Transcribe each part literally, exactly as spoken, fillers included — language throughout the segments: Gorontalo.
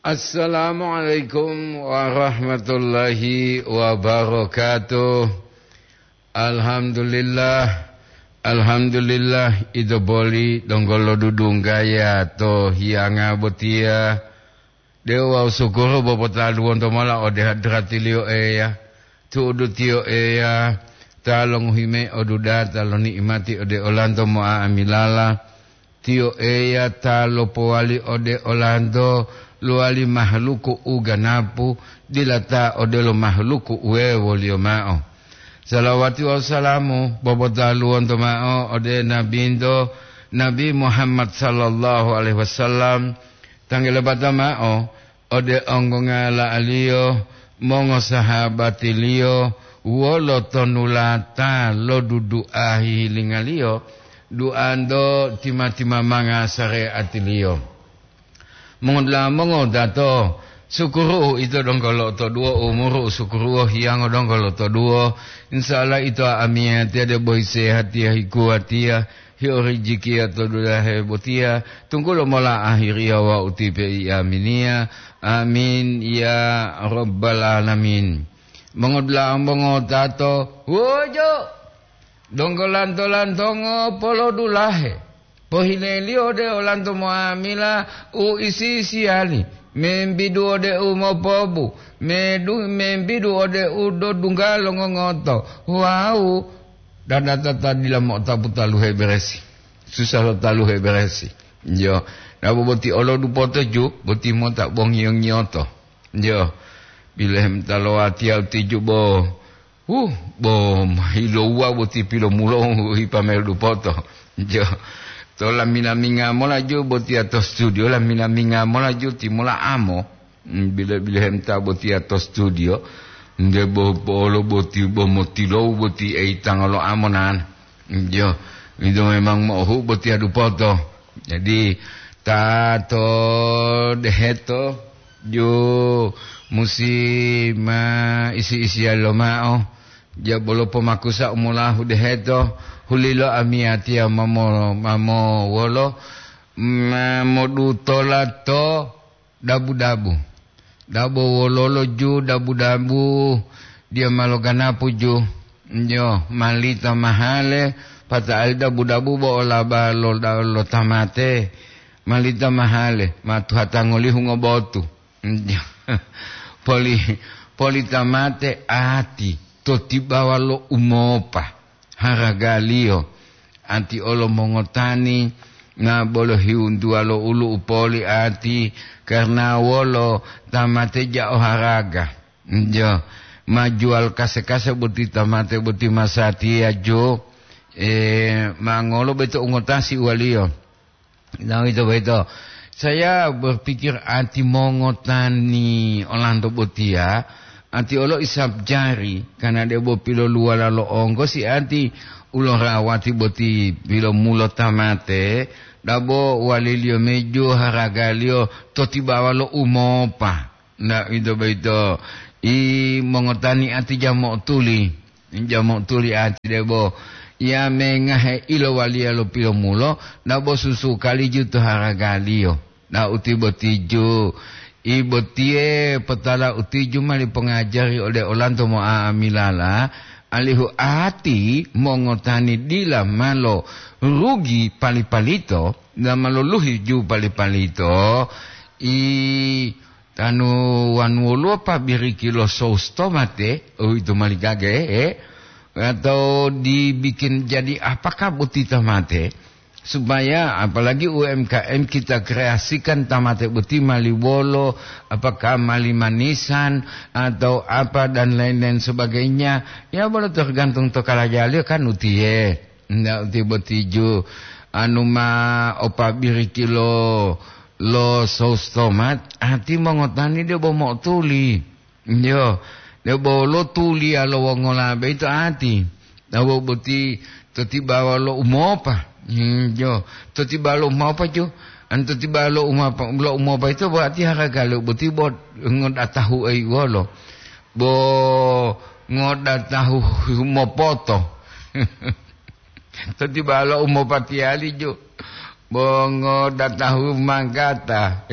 Assalamualaikum warahmatullahi wabarakatuh. Alhamdulillah, alhamdulillah, ito boli donggo lodudunggaya to hiyanga botiya. De'u wawu sukuru bo potaluwonto mola ode hadratiliyo Eya, tu'udu tiyo Eya ta longohi mayi odudata lo ni'imati ode olanto mo'a'amilala. Tiyo Eya ta lopowali ode olanto lowali mahaluku u ganapu, dila ta odelo mahaluku wuwewoliyo ma'o. Salawati wawu salamu popotaluwonto ma'o ode Nabinto, Nabi Muhammad sallallahu alaihi wasallam, tanggelebata ma'o ode onggongala'aliyo, mongosahabatiliyo, wolo tonulata lo dudu'a hihilingaliyo, duanto tima-timamanga sareatiliyo. Mongodula'a mongodato, sukuru'u ito donggo lo'otoduwo, umuru'u sukuru'u hiyango donggo lo'otoduwo. Insya Allah ito amiyatiya debo hisehatiya hikuwatiya, hio rijikiya to dulahe botiya, tunggulo mola ahiriya wawu tipe i aminiya. Amin, ya Rabbal Alamin. Mongodula'a mongotato, wojo! Donggo lanto-lantongo polodulahe, pohileliyo ode olanto mo'amila u isi-isiyali, membidu ode u mopobu, medu-, membidu ode u dodungga longongoto, wawu dadata ta dila mo'otapu taluhe beresi, susah lo taluhe beresi. Yo, nabo boti olo dupoto ju, boti mota bongiyo-ngiyoto. Yo, bilehemta lowatiya utiju bo, huh, bo hilouwa boti pilomulo hipamelu dupoto. Jo, to lamina-minga mola ju botiya to studio, lamina-minga mola ju timola amo. Mm, bile-, bilehemta botiya to studio, nde bo polo boti bo motilou boti eitanga lo amo nan. Jo, itu memang mo'ohu botiya dupoto. Jadi, ta to deheto, ju musi ma isi-isiya loma'o, ja bolo pomakusa u molahu deheto, hulilo amiyatiya mamo, mamo wolo, ma modutola to dabu-dabu. Dabo wololo ju dabu-dabu, diya ma loganapu ju. Jo, malita mahale, pata'ali dabu-dabu bo olaba lo, lo tamate. Malita mahale, ma tuhatangolihu ngobotu. Poli-, polita mate ati to tibawa lo umopa haragaliyo. Ati olo mongotani, na bolo hiwuntuwa lo ulu u poli ati, karna wolo tamate ja'o haraga. Jo, ma juwal kase-kase boti tamate boti masatiya jo, eh, ma ngolo beto ungotasi uwaliyo. Nah, itu begitu. Saya berpikir ati mongotani olanto botiya, ati olo isap jari, karena debo piloluwala lo onggo si ati ulorawati boti pilomulo tamate, dabo waliliyo meju haragaliyo to tibawa lo umopa. Nda uwito boyito, i mongotani ati jamo'otuli, jamo'otuli ati debo, ya mengahe ilowaliya lo pilomulo, nabo susu kaliju to haragaliyo. Na uti botiju, i botiye potala utiju mali pongajari ode olanto mo'a'amilala, alihu ati mongotani dila malo rugi pali-palito, dila malo luhi ju pali-palito, i Tanu wanu woluwo pabiriki lo sous tomate, uwito mali gage, eh? Atau dibikin jadi apakah boti tomate? Supaya apalagi U M K M kita kreasikan tomate boti mali wolo, apakah mali manisan atau apa dan lain-lain sebagainya. Ya, bolo tergantung to kalajaliyo kan utiye. Nda uti botiju, anu ma o pabiriki lo, lo sous tomat, ati mongotani debo mo'otuli. Yo, debo lo tuliya lo wongola boyito ati. Dabo boti to tibawa lo umopa. Hmm, yo, to tibawa lo umopa ju. An to tibawa lo umopa, lo umopa ito berarti haragaliyo boti bo ngodatahu ei wolo. Bo ngodatahu mopoto. To tibawa lo umopatiyali ju. Mongodatahu manggata.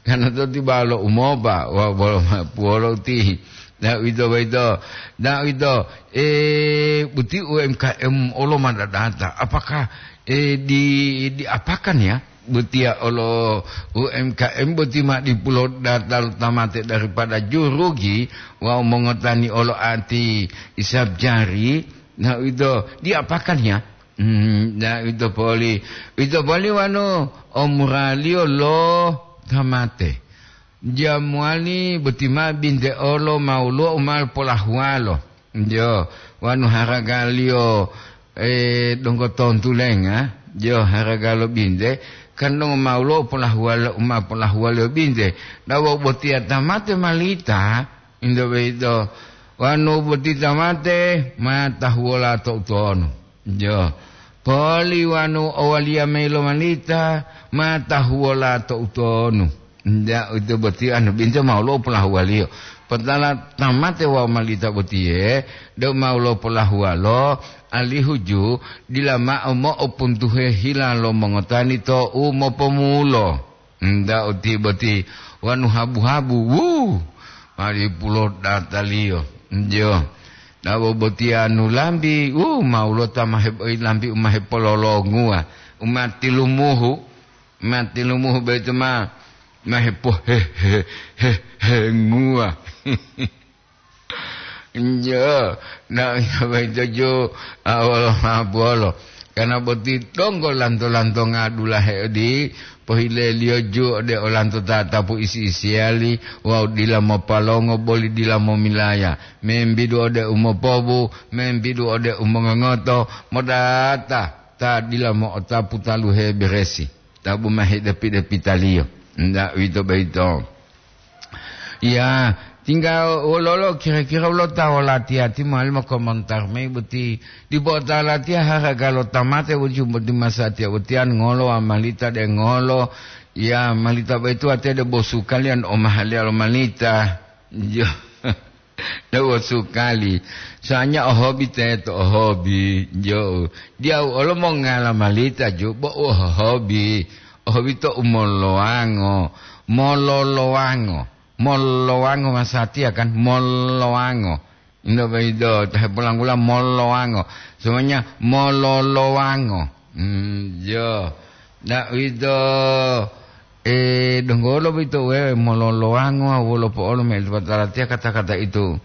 Karena to tiba lo umopa, wa-, bolo ma-, puwolo ti. Nah, uwito boyito. Nah, uwito, eh, boti U M K M olo ma dadata. Apakah, eh, di, diapakan ya? Botiya olo U M K M boti ma dipulo data lo tamate daripada jurugi wawu mongotani olo ati isab jari. Nah, uwito diapakan ya? Hmm, na uwito poli, uwito poli wanu omuraliyo lo tamate. Jamuwali boti ma binte olo ma woluwo u ma polahuwalo. Jo, wanu haragaliyo, eh, donggo tontulenga, jo, haraga lo binte, kan donggo ma woluwo u polahuwalo, u ma polahuwaliyo binte. Dawo botiya tamate malita, Inde boyito, wanu boti tamate ma tahuwola to utonu. Jo, poli wanu owaliya mayi lo malita ma tahuwola to utonu. Nda uwito boti anu binte ma woluwo polahuwaliyo. Potala tamate wawu malita botiye, deu ma woluwo polahuwalo, alihu ju dila mao mo'opuntuhe hila lo mongotani to u mopomulo. Nda uti boti wanu habu-habu, wu, mali pulo dataliyo. Jo. Nabo boti anu lambi, wu, ma woluwo ta ma hebo-, lambi u ma hepololonguwa, u ma tilumuhu, ma tilumuhu boyito ma, ma hepo-, he-, he-, he-, henguwa. Njo, na, boyito ju, a, wolo mabolo. Karena boti donggo lanto-lantonga dulahe odi, pohileliyo ju ode olanto tatapu isi-isiyali, wawu dila mopalongo boli dila momilaya. Membidu ode umopobu, membidu ode umongongoto, modata ta dila mo'otapu taluhe beresi. Tabu ma hedepi-depitaliyo. Nda uwito boyito. Ya, tingga wololo kira-kira wolo ta wolati-ati mowali mokomontar mayi boti dipo ta latiya haraga lo tamate wuju boti masatiya utiyan ngolo wawu malita de ngolo. Ya, malita boyito watiya de bosu kaliyan omahaliya lo malita. Jo. Dewo sukali. Soalnya ohobi teto, ohobi. Jo. Diyawu olo mongala malita ju, bo u ohobi. Ohobi to u molowango. Mololowango. Mololowango masatiya kan? Molowango. Indo baido, tahe polanggula molowango. Semuanya mololowango. Hmm, jo. Nda uwito, eh, donggolo boyito wewe mololowango wolo po'olo meli patalatiya kata-kata itu.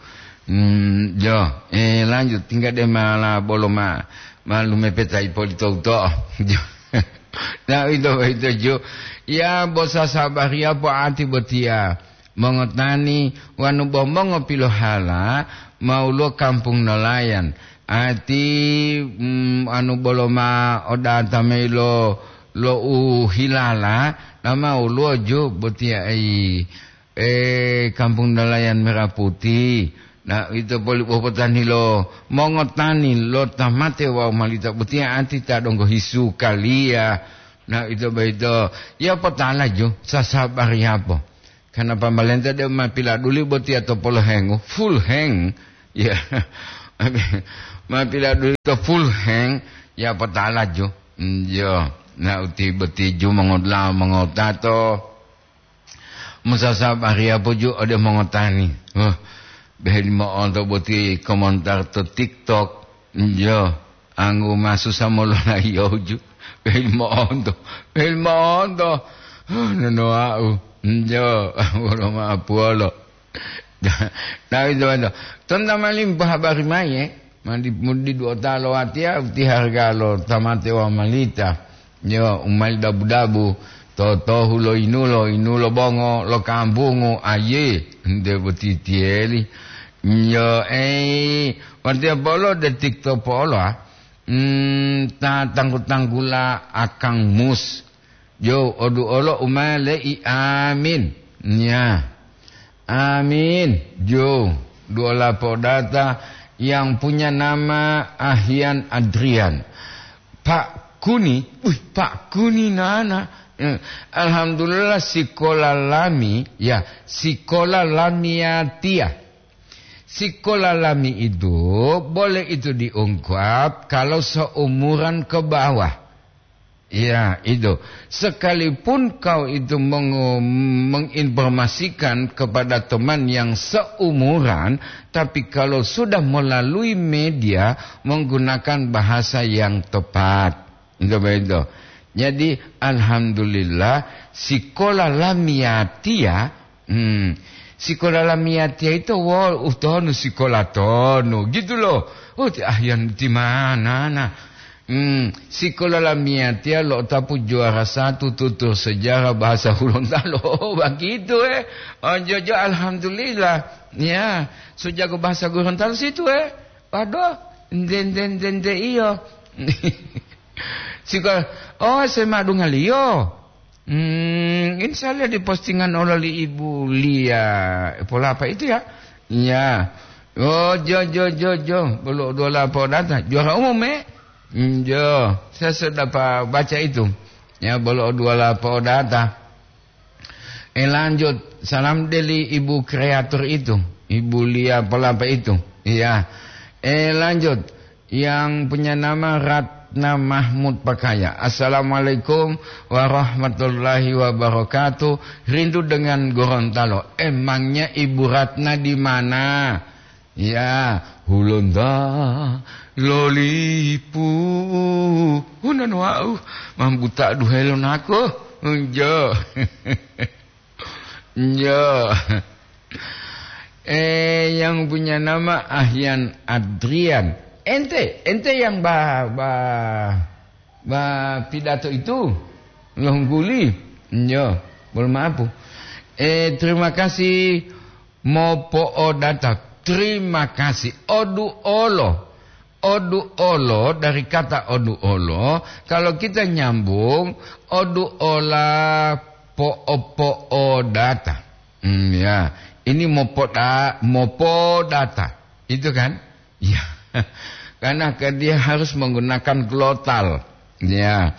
Hmm, jo, eh, lanjut, tingga de mala bolo ma, ma lumepeta ipolito uto'o. Jo. Nda uwito boyito jo. Ya, bo sasabariya po ati botiya. Mongotani wanu bo mongopilohala ma woluwo kampung nolayan. Ati, mm, anu bolo ma odata mayi lo, lo u hilala, nama woluwo ju botiya ei, eh, kampung nolayan Merah Putih. Na, ito poli popotani lo mongotani lo tamate wawu malita botiya ati ta donggo hisu kaliya. Na, ito boyito, ya potala ju, sasabari yapo. Karena pamalenta deu ma piladuli botiya to polohengu, full hang. Ya. Ma piladuli to full hang, ya potala ju. Mm, yo. Na uti boti ju mongodla mongotato. Musasabariya po ju ode mongotani. Huh. Beheli mo'onto boti komentar to TikTok. Yo. Anggu ma susa mololayiyo ju. Wei mo'onto, wei mo'onto. Huh, nonowa'u. Njo, wolo ma'apuwolo. Tawi tuwanto. Tonta mali mopohabari mayi, eh. Mandi mudi duota lo watiya, uti harga lo tamate wawu malita. Yo, u mali dabu-dabu. Totohu lo yinulo, yinulo bongo lo kambungu, aye, nte botitiyeli. Yo, ei, watiya polo de TikTok polo, ah. Hmm, ta tanggu-tanggula akang mus. Jo, odu olo umale'i amin. Nya. Amin. Jo, duola podata yang punya nama Ahian Adrian. Pak Kuni, wih, Pak Kuni nana. Eh, alhamdulillah sikola lami, ya, sikola lami ya tia. Sikola lami itu boleh itu diungkap kalau seumuran ke bawah. Ya, itu. Sekalipun kau itu meng-, menginformasikan kepada teman yang seumuran, tapi kalau sudah melalui media, menggunakan bahasa yang tepat. Itu begitu. Jadi, alhamdulillah, sikola lamiyatiya, hmm, sikola lamiyatiya itu, wo, utonu sikola tonu, gitu loh. Oh, ti ahyan ti mana, nah. Hmm, sikola lamiyatiya lo tapu juara satu tutur sejarah bahasa Hulontalo. Oh, begitu, eh. Oh, jojo, alhamdulillah. Ya, sujago bahasa Gorontalo situ, eh. Waduh, nde, nde, nde, nde, iyo. Sikola, oh, S M A dungaliyo. Hmm, ini saya lihat di postingan oleh Ibu Lia. Pola apa itu ya? Ya. Oh, jo, jo, jo, jo. Bolo dua lapo data. Juara umum, eh? Hmm, jo. Saya sudah pa-, baca itu. Ya, bolo dua lapo data. Eh, lanjut. Salam dari Ibu kreator itu. Ibu Lia Pelapa itu. Iya. Eh, lanjut. Yang punya nama Ratna Mahmud Pakaya. "Assalamualaikum warahmatullahi wabarakatuh. Rindu dengan Gorontalo." Emangnya Ibu Ratna di mana? Ya, Hulonta lolipu. Unan wau mambuta duhelo nako. Enjo. Enjo. Eh, yang punya nama Ahyan Adrian. Ente, ente yang ba, ba, ba pidato itu, longguli. Enjo, bolo maapu. Eh, terima kasih mopo'odata. Terima kasih. Odu olo. Odu olo, dari kata odu olo, kalau kita nyambung, odu ola po'o-po'odata. Hmm, ya. Ini mopoda-, mopodata. Itu kan? Ya. Karena ke-, dia harus menggunakan glotal. Ya.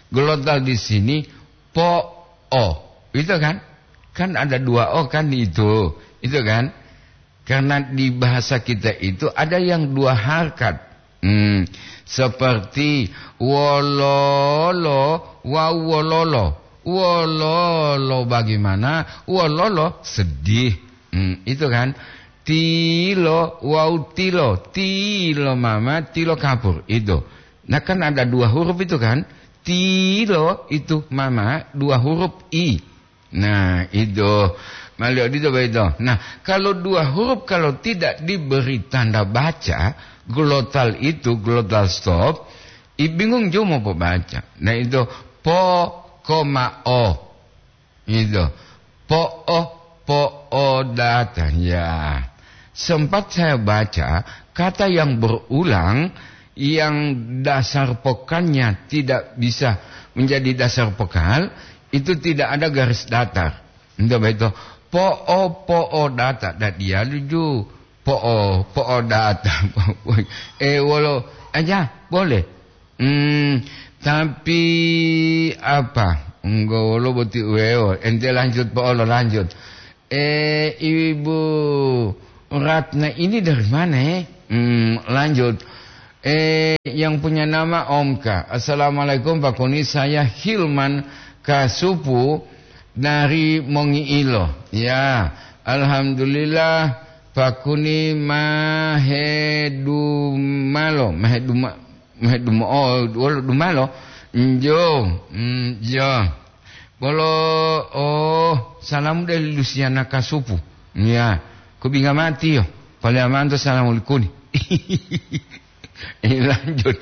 Glotal di sini po'o. Itu kan? Kan ada dua o kan itu. Itu kan? Karena di bahasa kita itu ada yang dua harkat. Hmm, seperti wololo wawu wololo. Wololo bagaimana? Wololo sedih. Hmm, itu kan. Tilo wawu tilo. Tilo mama, tilo kapur. Itu. Nah, kan ada dua huruf itu kan. Tilo itu mama, dua huruf i. Nah, itu. Mali odito boyito. Nah, kalau dua huruf kalau tidak diberi tanda baca, glotal itu, glotal stop, i bingung juga mau baca. Nah, itu po, koma, o. Itu. Po, o, po, o, data. Ya. Sempat saya baca, kata yang berulang, yang dasar pokalnya tidak bisa menjadi dasar pokal, itu tidak ada garis datar. Itu betul. Po'o, po'o data. Dan dia lucu. Po'o, po'o data. Eh, wolo aja, boleh. Hmm, tapi apa? Enggak, wolo boti uweo. Ente lanjut, po'olo lanjut. Eh, Ibu Ratna ini dari mana, eh? Hmm, lanjut. Eh, yang punya nama Omka. "Assalamualaikum, Pak Kuni. Saya Hilman Kasupu dari Mongiilo." Ya, alhamdulillah, Pak Kuni mahedumalo, maheduma-, mahedumo-, oh, wolo dumalo. Njo, mm, jo. Bolo, oh, salamu dari Lusiana Kasupu. Ya, kubinga mati yo. Pale amanto salamu likuni. Eh, lanjut.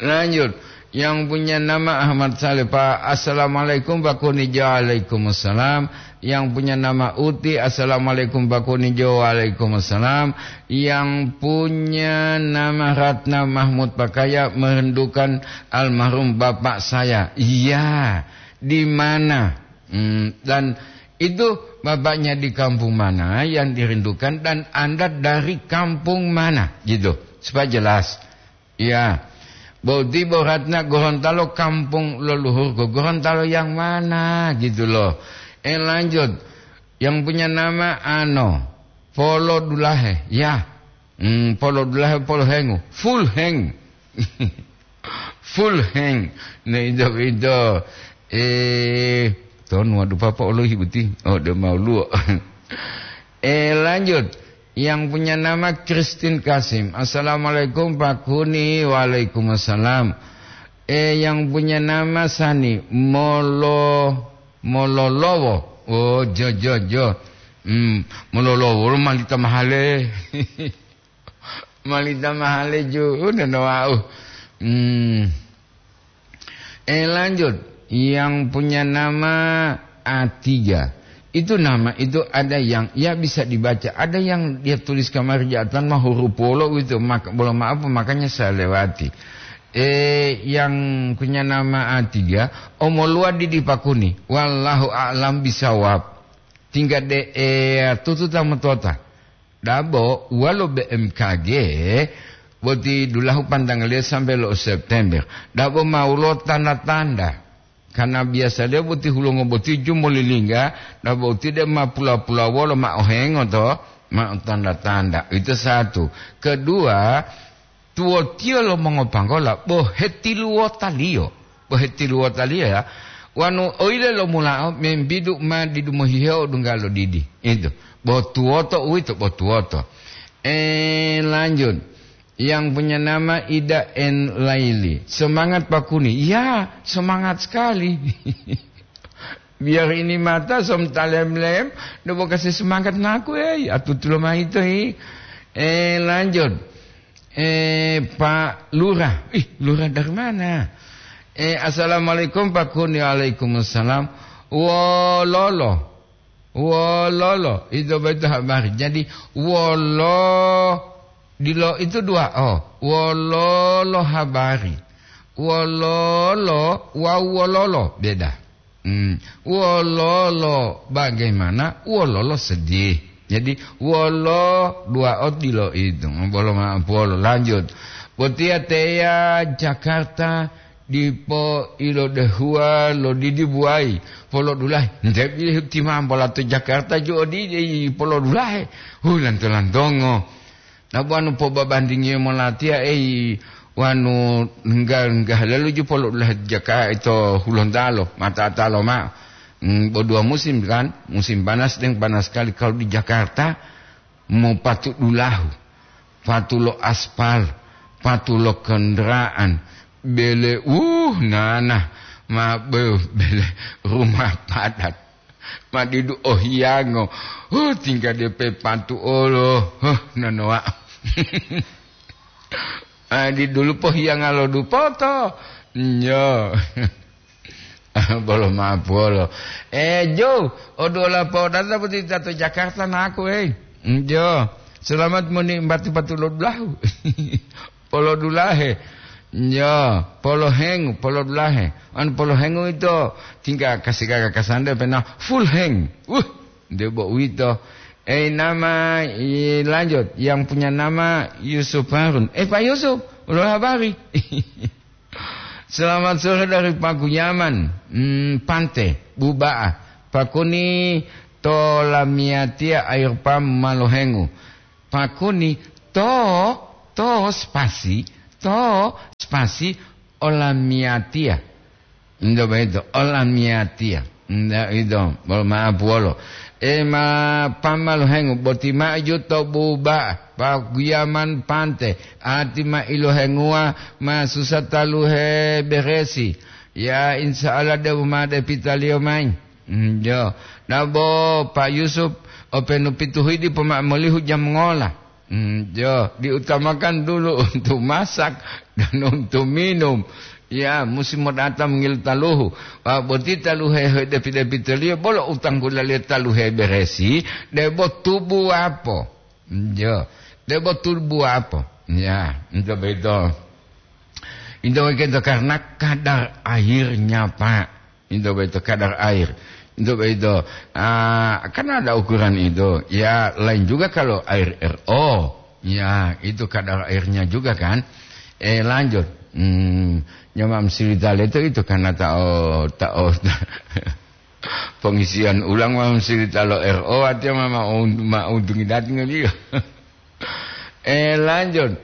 Lanjut. Yang punya nama Ahmad Saleh, Pak. "Assalamualaikum, Pak Kunijo." Waalaikumsalam. Yang punya nama Uti. "Assalamualaikum, Pak Kunijo." Waalaikumsalam. Yang punya nama Ratna Mahmud Pakaya, merindukan almarhum bapak saya. Iya, di mana? Hmm, dan itu bapaknya di kampung mana yang dirindukan dan Anda dari kampung mana? Gitu. Supaya jelas. Iya. Boti bo Ratna Gorontalo kampung leluhurku. Gorontalo yang mana? Gitu loh. Eh, lanjut. Yang punya nama Ano. Polo Dulahe. Ya. Hmm, Polo Dulahe, Polo Hengu. Full Heng. Full hang. Nah, itu, itu. Eh, ton, waduh, papa olohi boti. Oh, dia mau luo. Eh, lanjut. Yang punya nama Christine Kasim. "Assalamualaikum, Pak Kuni." "Waalaikumsalam." Eh, yang punya nama Sani Molo, Mololowo. Oh, jo, jo, jo. Hmm, Mololowo, malita mahale. Malita mahale ju, udah no wau. Hmm. Eh, lanjut. Yang punya nama A tiga. Itu nama itu ada yang, ya, bisa dibaca. Ada yang dia tulis kamari jatan mah huruf polo gitu. Maka, bolo maaf, makanya saya lewati. Eh, yang punya nama A tiga, omoluwa didi Pak Kuni. Wallahu a'lam bisawab. Tingkat de, eh, tututa motota. Dabo wolo B M K G, boti dulahu pantangaliyo sambe lo September. Dabo ma wolo tanda-tanda. Karena biasaliyo boti hulongo boti ju molilingga, dabo uti de ma pula-pula wolo ma ohengo to, ma tanda-tanda. Itu satu. Kedua, tuwotiyo lo mongopanggola bo hetiluwotaliyo. Bo hetiluwotaliyo, ya. Wanu oile lomulao membidu ma didu mohihewo dungga lo didi. Itu. Bo tuwoto uwito, bo tuwoto. Eh, lanjut. Yang punya nama Ida N Laili. "Semangat, Pak Kuni." Ya, semangat sekali. Biar ini mata som talem-lem, do bo kasih semangat naku, eh, atutulo maito, eh. Eh, lanjut. Eh, Pak Lurah. Ih, Lurah dari mana? Eh, "Assalamualaikum, Pak Kuni." "Waalaikumsalam." Wololo. Wololo. Itu betul habari. Jadi, wolo, dilo itu dua. Oh, wololo habari. Wololo, wau wololo. Beda. Hmm. Wololo bagaimana? Wololo sedih. Jadi, wolo dua odilo itu. Bolo ma-, bolo lanjut. Botiya teya Jakarta dipo ilodehuwa lo didi buwayi. Polo dulahe. Nte bi timambola to Jakarta ju odidi polo dulahe. Hu, lanto-lantongo. Nabo wanu pobabandingiyo molatiya, ei, wanu ngga-, nggahalelu ju polo dulahe jaka ito Hulontalo, mata-atalo ma'o. Mm, bo dua musim kan, musim panas deng panas sekali. Kalau di Jakarta, mopatu dulahu, patu lo aspal, patu lo kendaraan, bele, uh, nana, ma, be-, bele rumah padat. Ma didu ohiyango. Huh, tingga depe pantu olo. Huh, nonoa. Ah, di dulu pohiyanga lo dupoto. Nyo. Bolo mapuolo. Eh, Jo, odola podata boti tato Jakarta naku, eh. Njo. Selamat moni batu-batu lo dulahu. Polo dulahe. Ya, polo hengu, polo dulahe. Anu polo hengu ito tingka kasi gaga kasande pena full heng. Uh, debo uwito. Eh, nama, i, lanjut. Yang punya nama Yusuf Harun. Eh, Pak Yusuf, ulo habari. Selamat sore dari Pakuyaman. Hmm, Pante, Buba'a. Pakuni to lamiatia air pam malohengu. Pakuni to, to spasi, to spasi olamiatia. Ndo begitu, olamiatia. Nda itu, bol maaf wolo. E ma pamalu hengu, boti maju to Buba'a, Pakuyaman Pante, ati ma ilohenguwa, ma susa taluhe beresi. Ya, insya Allah, de'u ma depitaliyo mayi. Mm, jo. Nabo Pak Yusuf, openu pitu hidi poma molihu jam ngola. Mm, jo. Diutamakan dulu untuk masak dan untuk minum. Ya, musim mo datang ngil taluhu. Wa boti taluhe depi-depitaliyo, bolo utang gulaliyo taluhe beresi, debo tubu apo. Mm, jo. Debo tubu apo. Ya, itu begitu. Itu begitu karena kadar airnya, Pak. Itu begitu kadar air. Itu begitu. Ah, kan ada ukuran itu. Ya, lain juga kalau air R O. Ya, itu kadar airnya juga kan. Eh, lanjut. Hmm, nyamam silitale itu, itu karena tao, tao pengisian ulang mam silitalo R O, artinya ma, ma, ma untungi dating dia. Eh, lanjut.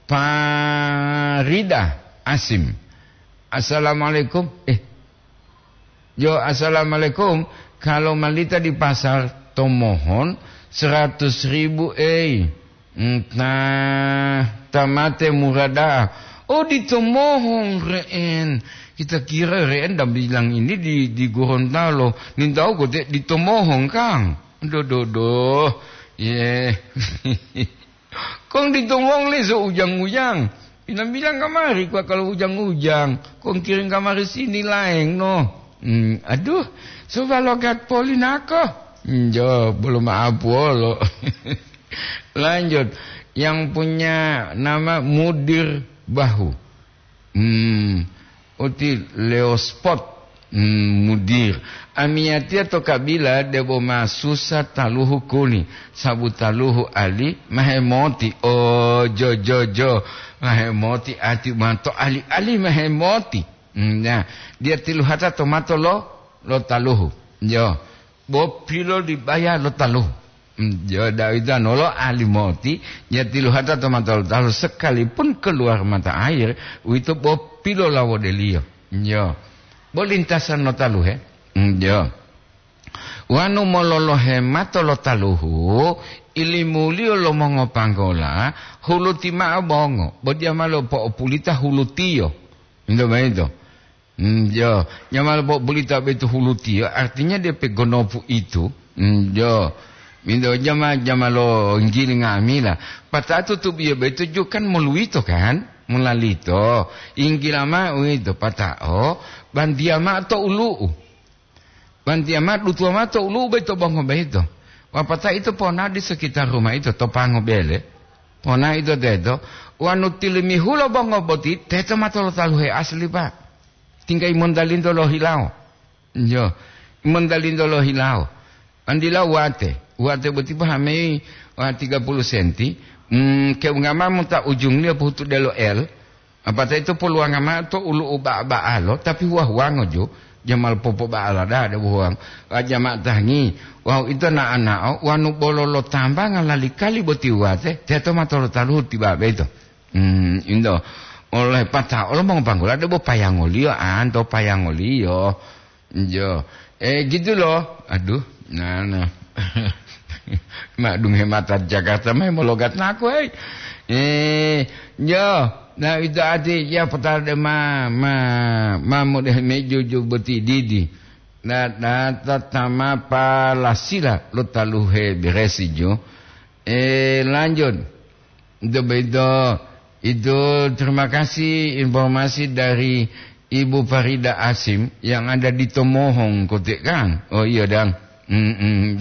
Parida Asim. Assalamualaikum. Eh, yo, assalamualaikum. Kalau malita di pasar, tomohon seratus ribu, ei. Entah, tamate murada. Oh, ditomohon re'en. Kita kira re'en dan bilang ini di, di Gorontalo. Nintau kote ditomohon, Kang. Doh, doh, doh. Ye. Kong ditomong leso ujang-ujang. Bilang-bilang kamari kwa kalau ujang-ujang. Kong kirim kamari sini laeng no. Hmm, aduh, coba logat poli nako. Hmm, jo, belum maaf wolo. Lanjut, yang punya nama Mudir Bahu. Hmm, uti Leospot, hmm, Mudir. Amiyatiya to kabila debo ma susa taluhu kuni, sabu taluhu ali mahemoti. Oh, jo, jo, jo, mahemoti ati manto ali-ali mahemoti. Hmm, ya, dia tiluhata to mato lo, lo taluhu. Yo, bo pilo dibaya lo taluhu. Hmm, yo, Dawida nolo ali moti, ya tiluhata to mato lo taluhu sekalipun keluar mata air, uwito bo pilolawodeliyo. Yo. Bo lintasan lo taluhe. Hmm, yo. Wanu mololohe mato lo taluhu, ilimuliyo lo mongopanggola, huluti ma'o bongo, bo diya ma lopo'opulita hulutiyo. Ento boyito. Hmm, jo, jama lo bulita boyito hulutiyo, artinya dia pegonopu itu. Hmm, jo. Minto jama, jama lo nggili nga'amila. Pata'o tutubiyo boyito ju kan moluwito kan? Molalito. Inggila ma'o uwito pata'o, bantiya ma'o to ulu'u. Bantiya ma'o dutuwa ma'o to ulu'u boyito bongo boyito. Wapata'o ito ponao di sekitar rumah ito to pango bele. Ponao ito teto, wanu tilimihulo bongo boti, teto ma tolotaluhe asli, Pak. Tingga imontalinto lohilawo. Yo, imontalinto lohilawo. Andila wate, wate boti pahamei wa tiga puluh senti, mm, keungama muta ujungliyo pohutu delo L, apata ito poluwanga ma'o to ulu'u ba'a-ba'alo, tapi huwa-huwango jo, jamal popoba'ala da'a de huwango. Wa jama tangi, wawu ito na'o-na'o, wanu bolo lo tambanga lali kali boti wate, teto ma tolotaluhu tibabe ito. Hmm, indo. Oleh pata'o lo mongopanggola debo payangoliyo, anto payangoliyo. Jo. Eh, gitu loh. Aduh, nah, nah. Madung hemata Jakarta mai mologat naku, hei. Eh, jo. Nah, itu arti ya potala de ma, ma, ma mode mejo jo boti didi. Nah, nah, tatama palasila lo taluhe beresi jo. Eh, lanjut. Itu begitu. Itu terima kasih informasi dari Ibu Farida Asim yang ada di Tomohong, kote kan? Oh iya, dang. Mm-mm.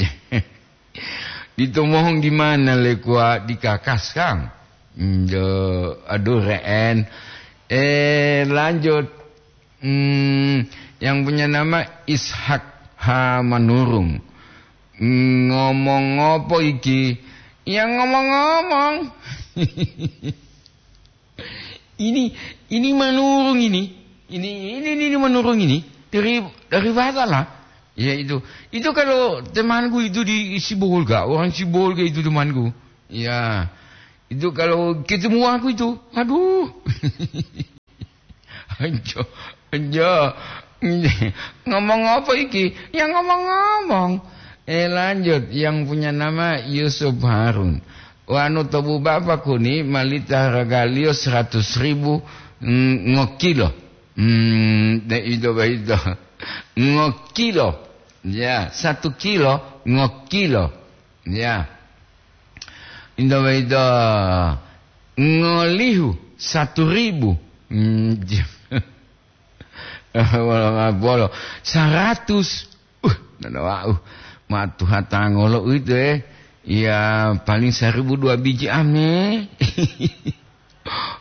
Di Tomohong di mana, le, kuwa? Di Kakas, kan? Mm, jo, aduh, re'en. Eh, lanjut. Hmm, yang punya nama Ishak H. Manurung. Ngomong apa iki? Ya, ngomong-ngomong. Ini, ini Manurung ini. Ini, ini, ini, ini Manurung ini. Dari, dari Fatala. Ya, itu. Itu kalau temanku itu di Sibolga, orang Sibolga itu temanku. Ya. Itu kalau ketemu aku itu, aduh. Anjo, anjo. Ngomong apa iki? Ya, ngomong-ngomong. Eh, lanjut. Yang punya nama Yusuf Harun. Wanu tobu bapak kuni malita hargaliyo seratus ribu, mm, ngokilo. Hmm, de ito boyito. Ngokilo. Ya, satu kilo ngokilo. Ya. Ito boyito ngolihu satu ribu. Hmm, wolo, wolo. Saratus. Uh, nana wau. Ma tuha tangolo uwito, eh. Ya, paling saribu dua biji ame.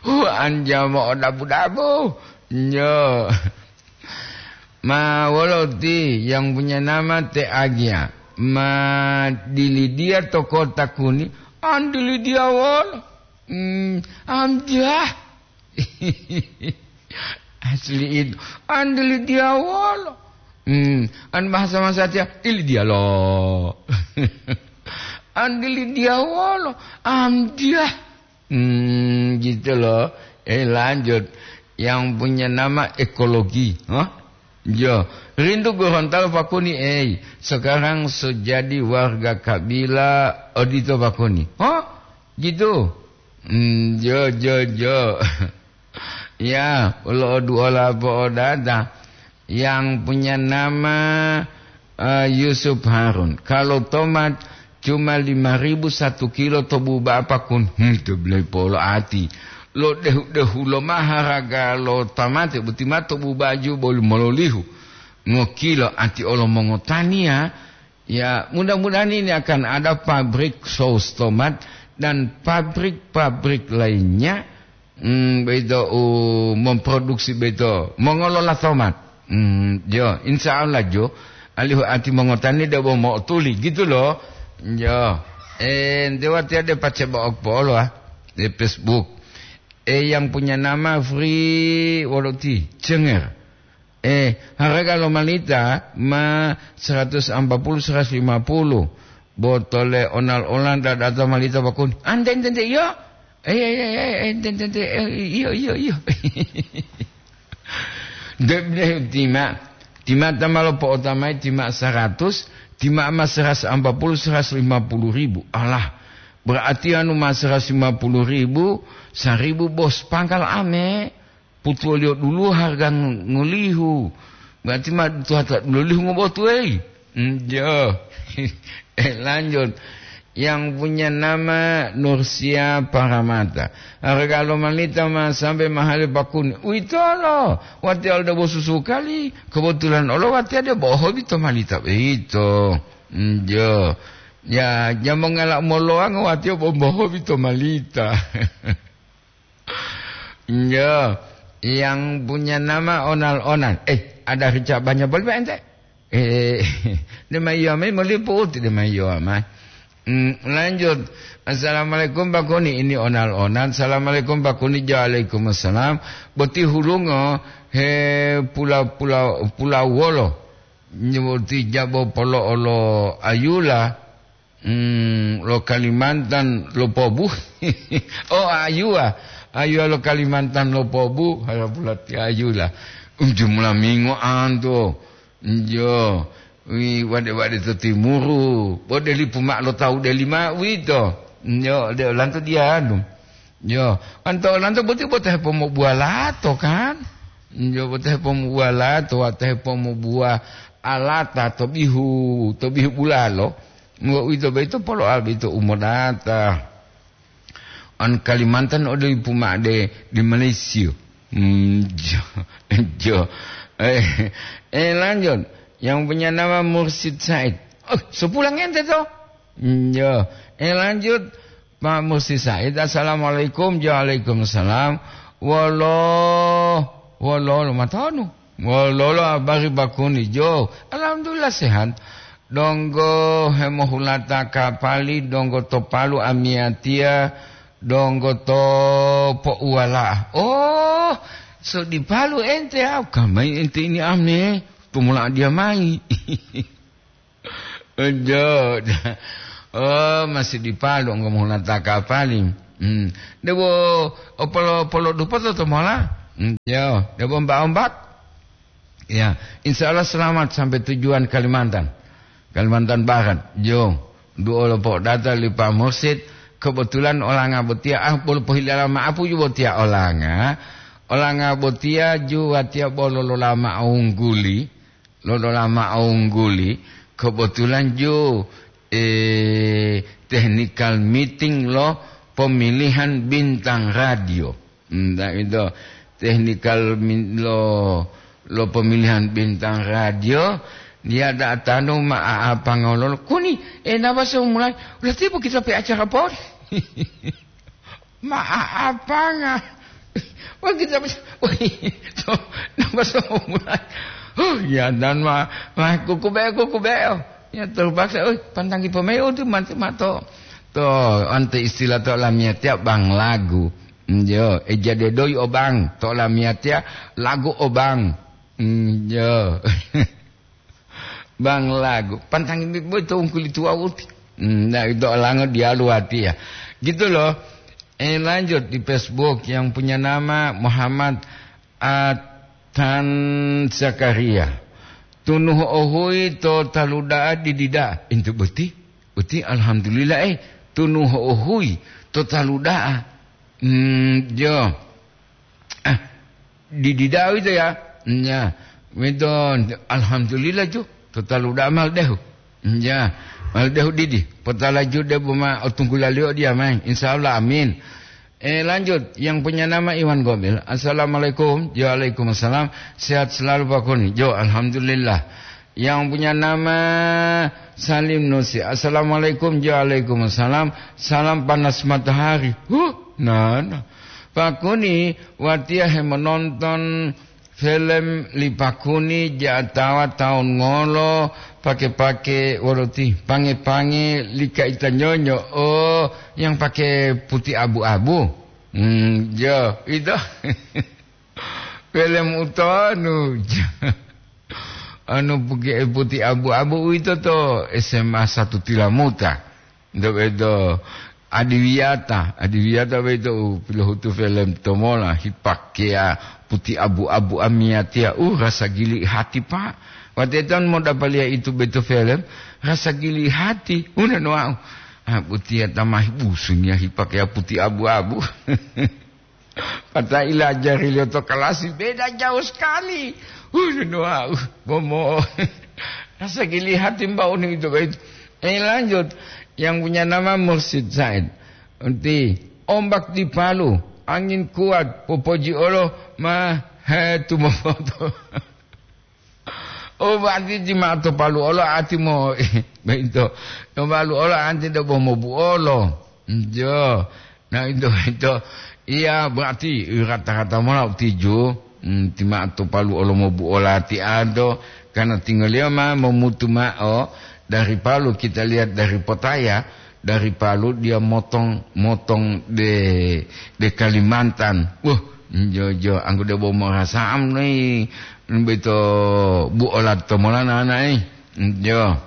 Wah, anjama o dabu-dabu. Nyo. Ma wolo ti yang punya nama Te Agia. Ma dilidiya to kota kuni. An dilidiya wolo. Hmm, amjah. Asli itu. An dilidiya wolo. Hmm, an bahasa masatiya, dilidiya lo. An dilidiya wolo. Amjah. Hmm, gitu loh. Eh, lanjut. yang punya nama ekologi. Hah? Yo, rindu Gorontalo pakuni, ei, sekarang sejadi warga kabila odito pakuni. Hah? Gitu? Hmm, yo, yo, yo. Ya, ulo oduola po'odata. Yang punya nama, eh, Yusuf Harun. Kalau tomat cuma lima ribu satu kilo to buba'a pakun. Hmm, to bele polo ati. Lo dehu-dehu lo ma haraga lo tamate, boti ma to buba'a ju boli mololihu. Ngokilo ati olo mongotaniya, ya, mudah-mudahan ini akan ada pabrik saus tomat dan pabrik-pabrik lainnya, hmm, beito u memproduksi beito, mengelola tomat. Hmm, yo, insya Allah jo, alihu ati mongotani debo mo'otuli, gitu loh. Yo, eh, ente watiya de pace bo'ok polo, ah, di Facebook. Eh, yang punya nama Free Woloti, Cenger. Eh, harga lo malita ma seratus ampa puluh, seratus lima puluh. Botole onal-onal dadata malita bakun. Ante, ante, ante, iyo. Eh, eh, eh, eh, ante, ante, ante, eh, iyo, iyo, iyo. Debde tima, tima ta ma lopo'otamai tima seratus, tima ma seratus ampa puluh, seratus lima puluh ribu. Alah, berarti anu ma seratus lima puluh ribu, seribu bos pangkal ame. Putuwoliyo dulu harga ng-, ngolihu. Berarti ma tuwata dulolihu ngobotu, ei. Njo. Eh, lanjut. Yang punya nama Nursia Paramata. Harga lo malita ma sampai mahali pakuni. Uitolo. Wati alda bosusu kali. Kebetulan olo wati ada bohobi to malita. Itu. Njo. Ya, jamongala moloang wati bo bohobi to malita. Iya, yang punya nama Onal-Onal. Eh, ada rica banyak boleh, Pak, ente? Eh, dia mayo mai meliputi, dia mayo mai. Hmm, lanjut. Assalamualaikum, Pak Kuni. Ini Onal-Onal. Assalamualaikum, Pak Kuni. Waalaikumsalam. Boti hulungo, he, pula, pula, pula wolo. Nyeboti jabo polo olo ayula. Hmm, lo Kalimantan lo pobu. Oh, ayuwa. Ayuwa lo Kalimantan lo pobu. Harapulati ayula. Jumlah mingo anto. Njo. Wi, wade-wade to timuru. Bo deli puma lo tau deli ma wito. Njo, de lanto dianu. Yo, anto lanto boti bota hepomobuwa lato, kan? Yo, bota hepomobuwa lato, wata hepomobuwa alata to bihu, to bihu bulalo. Ngo uwito boyito polo'a boyito umodata. An Kalimantan ode ipu ma'de di Malaysia. Hmm, jo, jo. Eh, eh, lanjut. Yang punya nama Mursid Said. Oh, sepulang ente to? Hmm, yo. Eh, lanjut. Pak Musti Said, assalamualaikum. Waalaikumsalam. Wolo, wolo, lo matonu. Wolo, lo habari bakuni jo. Alhamdulillah sehat. Donggo hemohulata kapali, donggo to Palu amiyatiya, donggo to Pouwala. Oh, so di Palu ente, au kamai ente ini ame. Tumula dia mai. Ojo. Oh, masih di Palu, enggo mohunata kapali. Hmm. Debo opolo-, polo dupoto to mola? Hmm, yo, debo ombak-ombak? Ya, insya Allah selamat sampai tujuan Kalimantan. Kalimantan Barat. Jo, duo lo po'odata li Pak Mursid. Kebetulan olanga botiya, ah, bolo pohilala ma'apu ju botiya olanga. Olanga botiya ju watiya bolo lolama ungguli. Lolola ma'o ungguli, kebetulan ju, eh, technical meeting lo pemilihan bintang radio. Hmm, ta ito, technical min-, lo, lo pemilihan bintang radio, dia datanu ma apa ngololo. Kuni, eh, napa so mulai? Udah tiba kita pe acara pon. Ma'apanga. Wah, kita, wah, to, napa so mulai? Huh, ya, dan ma, ma, kuku be, kuku be. Ya, terpaksa, "Oi, pantanggi pemain, oh, tu mati, mato." To, ante istilah to lamiatia bang lagu. Njo, eh, jadi doi obang, to lamiatia lagu obang. Njo. Bang lagu, pantang ini boy to ungkuli tua uti. Hmm, nah, itu olango dialu hati ya. Gitu loh. Eh, lanjut di Facebook yang punya nama Muhammad Atan Zakaria. Tunu ho'ohuyi to talu da'a didi da'a. Intu boti, boti alhamdulillah, eh, tunu ho'ohuyi to talu da'a. Hmm, jo. Ah, didi da'a wito ya. Nya, wito alhamdulillah ju. To talu da'a mal dehu. Ya, mal dehu didi. Potala ju de buma otunggulaliyo dia mai. Insya Allah, amin. Eh, lanjut, yang punya nama Iwan Gomil. Assalamualaikum. Ya, waalaikumsalam. Sehat selalu, Pak Kuni. Jo, alhamdulillah. Yang punya nama Salim Nusi. Assalamualaikum. Ya, waalaikumsalam. Salam panas matahari. Huh, nah, nah. Pak Kuni, watiya hemononton film li Pak Kuni ja'atawa taun ngolo pake-pake wolo ti pange-pange li kaita nyonyo, oh, yang pake putih abu-abu. Hmm, jo, itu. Film utonu. Anu puke-, putih abu-abu uwito to S M A satu Tilamuta. Nto beto adiwiyata, adiwiyata beto u pilohutu film tomola hipakeya putih abu-abu amiyatiya. Uh, rasa gili hati, Pak. Wateton modapaliya itu beto film, rasa gili hati. Una no wau. Ah, butiya tamahi busunya hipakeya putih abu-abu. Pata ilajariliyo to kalasi, beda jauh sekali. Uh, no, wau, bomo. Rasa gili hati mbak uni itu, baik. Eh, lanjut. Yang punya nama Mursid Said. Enti ombak di Palu, angin kuat, popoji olo, ma, he, tumomoto. Oh, berarti ti ma'o to Palu olo ati mo, beito. To Palu olo anti do bomo buolo. Jo. Nah, itu, itu. Iya, berarti rata-rata mola utiju. Hmm, ti ma'o to Palu olo mo buola ti ado. Karena tinggal dia ma memutu ma'o dari Palu, kita lihat dari Potaya. Dari Palu dia motong, motong de, de Kalimantan. Wah, jo, jo, anggo debo morasa'am noi, beto bu olat to molana anai. Jo.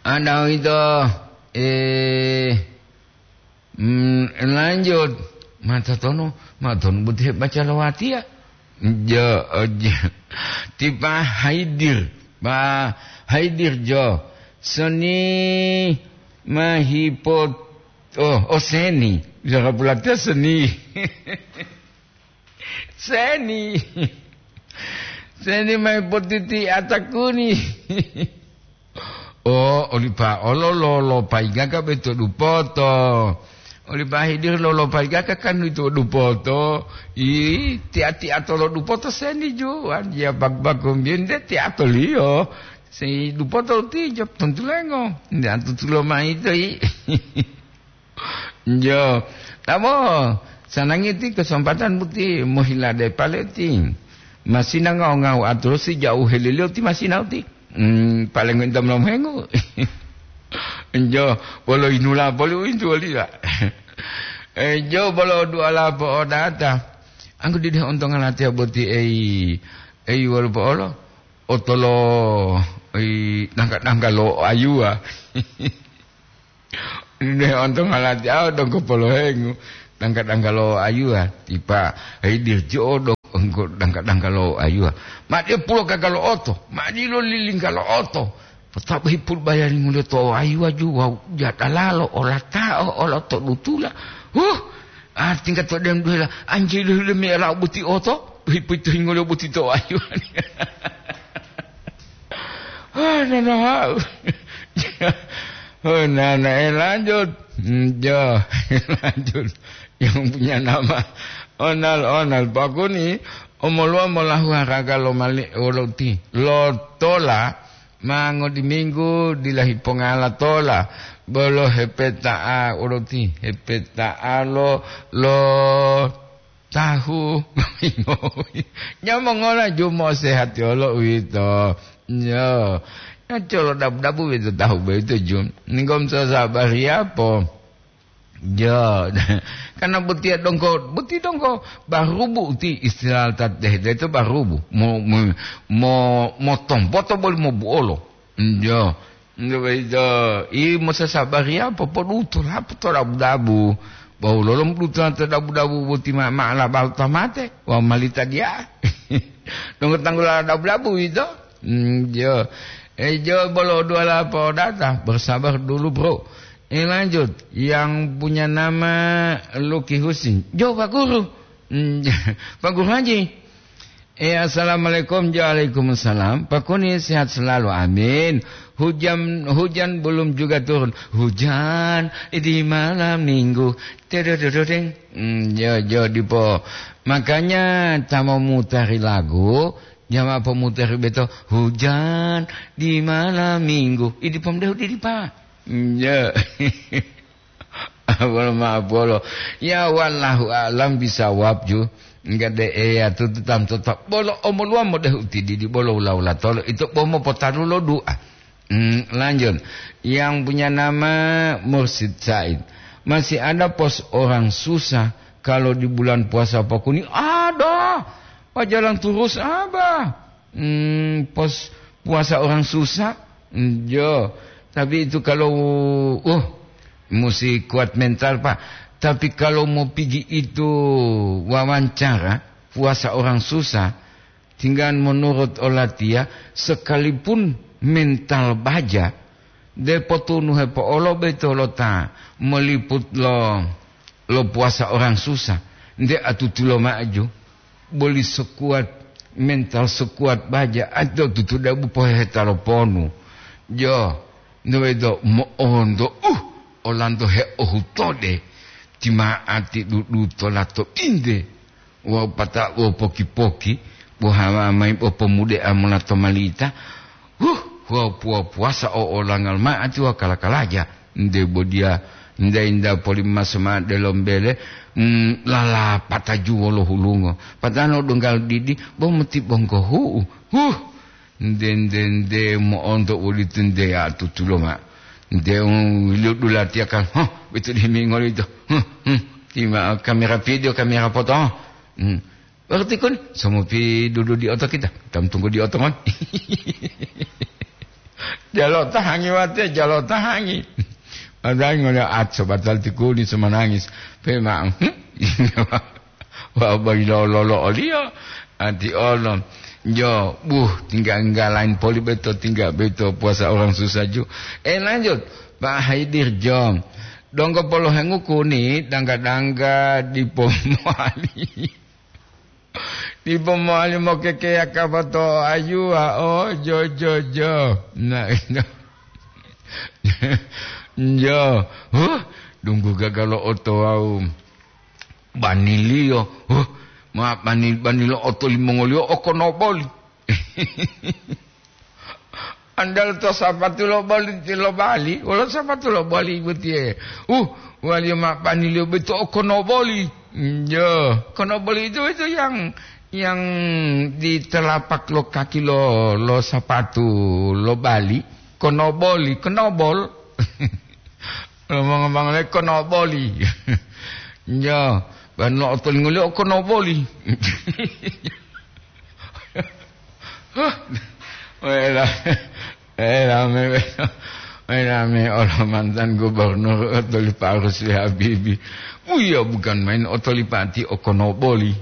Ada itu, eh, mm, lanjut. Mata tono, mata tono buti baca lawati ya. Jo, jo. Tipa haidir. Ba haidir jo. Seni mahipot-, oh, oh, seni. Bicara pulatiya seni. Seni. Seni mahipotiti atakuni. Oh, olipa olo lolo paigaka beto dupoto. Olipa hidir lolo paigaka kan itu dupoto. Ih, tia-tia tolo dupoto seni juan. Ya bag-, bagong biyen de tia toliyo. Si dupoto ti jop tontulengo. Nda tutulo mai toi. Jo, tamo, sanangi ti kesempatan buti mohila de paleti. Masina ngau-ngau aturusi jauh helilio ti masina uti. Hmm, paling minta melomo hengu. Jo, bolo inula boli uintu wali ya. Eh, jo, bolo dua lapo odata. Anggo dide ontong alatia boti ei, ei wolo po olo. Otolo ei dangka-dangka lo ayua. Deh, ontong alati awa donggo polohengu, dangka-dangka lo ayuwa, tipa, hei, dirji'o donggo dangka-dangka lo ayuwa. Ma dia pulo kakalo oto, ma dilo lilingka lo oto. Potabo hipul bayari ngulia to ayuwa ju, wawu jadalalo, olata'o, olo to dutula. Huh, artingga to dem duhela, anjili hile me ela buti oto, hipu itu hingolio buti to ayuwa. Oh, nana hau. Oh, nana, eh, lanjut. Hmm, jo, lanjut. Yang punya nama Onal, Onal. Pakuni, omoluwa molahu haraga lo mali, lo ti, lo tola, mango di minggu, dila hipongala tola. Bolo hepeta'a, lo ti, hepeta'a lo, lo tahu. Nyamongola jumo sehati olo uwito. Yo. Nacolo dabu-dabu uwito tahu boyito jum. Ninggom sasabari apo? Yo. Karena botiya dongko, boti dongko barubu uti istilah tat deh, itu barubu. Mo, mo, mo, mo tompoto boli mo buolo. Yo. Nggak begitu. I mo sasabari apo? Podutu lapo to dabu-dabu. Wawu lolom dutola to dabu-dabu boti ma, ma labal ta mate, wawu malita diya. Tunggu tanggula dabu-dabu ito. Hmm, jo. Eh, jo bolo dua la podata. Bersabar dulu, Bro. Eh, lanjut. Yang punya nama Lucky Husin. Jo, Pak Guru. Hmm, Pak Guru Haji. Eh, assalamualaikum. Waalaikumsalam. Pak Kuni sehat selalu. Amin. Hujan, hujan belum juga turun. Hujan di malam minggu. Tedodododeng. Hmm, jo, jo, dipo. Makanya, ta mau mutari lagu, jama pomutari beto, hujan di malam minggu. Idi pomdehu didi, Pak. Hmm, jo. Bolo ma'apolo. Ya, wallahu a'lam bisawab ju. Enggak de eya tutu tam tetap. Bolo omoluwa modehu tididi bolo ula-ula tolo. Itu bomo potaru lo doa. Hmm, lanjut. Yang punya nama Mursid Said. Masih ada pos orang susah kalau di bulan puasa Pak Kuni? Ada. Pak jalan terus, Abah. Hmm, pos puasa orang susah? Hmm, jo. Tapi itu kalau, uh, mesti kuat mental, Pak. Tapi kalau mau pigi itu wawancara, puasa orang susah, tinggal menurut olatiya, sekalipun mental baja, de potunu hepo'olo beto lo ta meliput lo, lo puasa orang susah. Nde atutulo maju, boli sekuat, mental sekuat baja, ado tutudabu poheheta lo ponu. Jo, nde wedo mo'onto, uh, olanto heohutode, tima'ati dudu tolato inde. Wawu pata-, wawu poki-poki, bo hawa mayi bo pomude'a mola to malita. Huh, wawu puwa-puwasa o olangal ma'ati wawu kala-kalaja. Nde bodiya, nda-inda poli maso ma'o delombele, mm, lalapata juwolo hulungo. Patanu donggal didi, bo moti bonggohu'u. Huh, Nde, nde, nde mo'onto uwolitu nde atutulo ma'o. Nde, um, wiliyo dulatiya kan, huh, betu dihimingoli to. Huh, hmm, ti ma'o kamera video, kamera foto. Hmm. Berarti kun, somupi dudu di oto kita. Tam tunggu di oto, mon. Jalo tahangi wate, jalo tahangi. Padahal ngole at sobatal tikuni semanangis. Pe ma'o. Hmm? Wa bayilololo oliyo, ati olo. Jo, buh, tingga-tingga lain poli beto, tingga beto puasa orang susah ju. Eh, lanjut, Pak Haidir, jo. Donggo polohengu kuni, dangga-dangga dipo mowali. Dipo mowali mokekeya kapato ayuwa, oh, jo, jo, jo. Nah, itu. Jo, huh, dunggu gagalo oto wau. Baniliyo, huh, ma bani-, banilo oto limongoliyo okonoboli. Andal to sapatu lo boli, lo bali, wolo sapatu lo boli botiye. Uh, waliyo ma baniliyo beto okonoboli. Njo, konoboli itu, itu yang, yang di telapak lo kaki lo, lo sapatu lo bali, konoboli, konobol. Ngomong-ngomong le konoboli. Njo, ban lo otolingoliyo konoboli. Wela, wela me, wela me olo mantan gubernur Otolipa Rusli Habibi. Uya bukan main Otolipa ti okonoboli.